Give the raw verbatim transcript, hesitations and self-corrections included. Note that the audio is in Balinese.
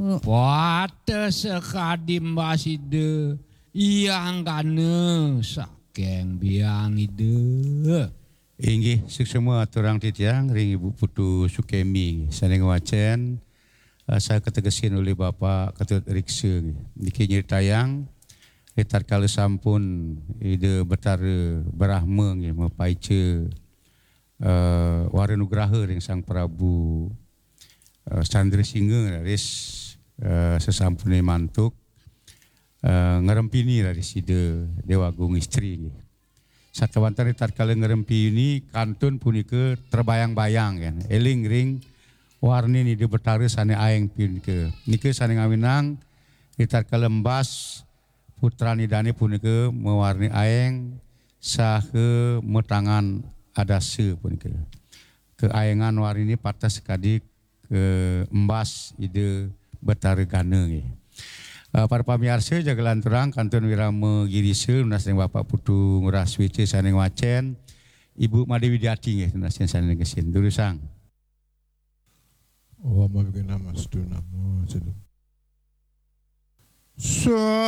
Wata sakadi mbas Ida, Hyang Gana saking biang Ida. Inggih, suksma aturang titiang ring Ibu Putu Sukemi, sané ngwacén, eh, saha kategesin olih Bapak Ketut Riksa, nggih. Niki nyritayang, ritatkala sampun Ida Betara Brahma, nggih, mapaica, eh, wara nugraha ring Sang Prabu, eh, Candra Singha, raris, eh, sasampuné mantuk, eh, ngrempini raris Ida Déwa Agung Istri, nggih. Sakéwanten ritatkala ngrempini kantun punika terbayang-bayang, kan. Éling ring warnin Ida Betara sané aéng punika. Nika sané ngawinang ritatkala embas putran Idané punika mawarni aéng saha matangan adasa punika. Kaaéngan warniné pateh sakadi kaembas Ida Betara Gana, nggih. Eh, para pamiarsa, jaga lanturang kantun wirama girisa nunas ring Bapak Putu Ngurah Suéca sané ngwacén, Ibu Madé Widiati, nggih, nunas ring sané negesin. Durusang. Om Awighnamastu Namo Siddham. Swalihatira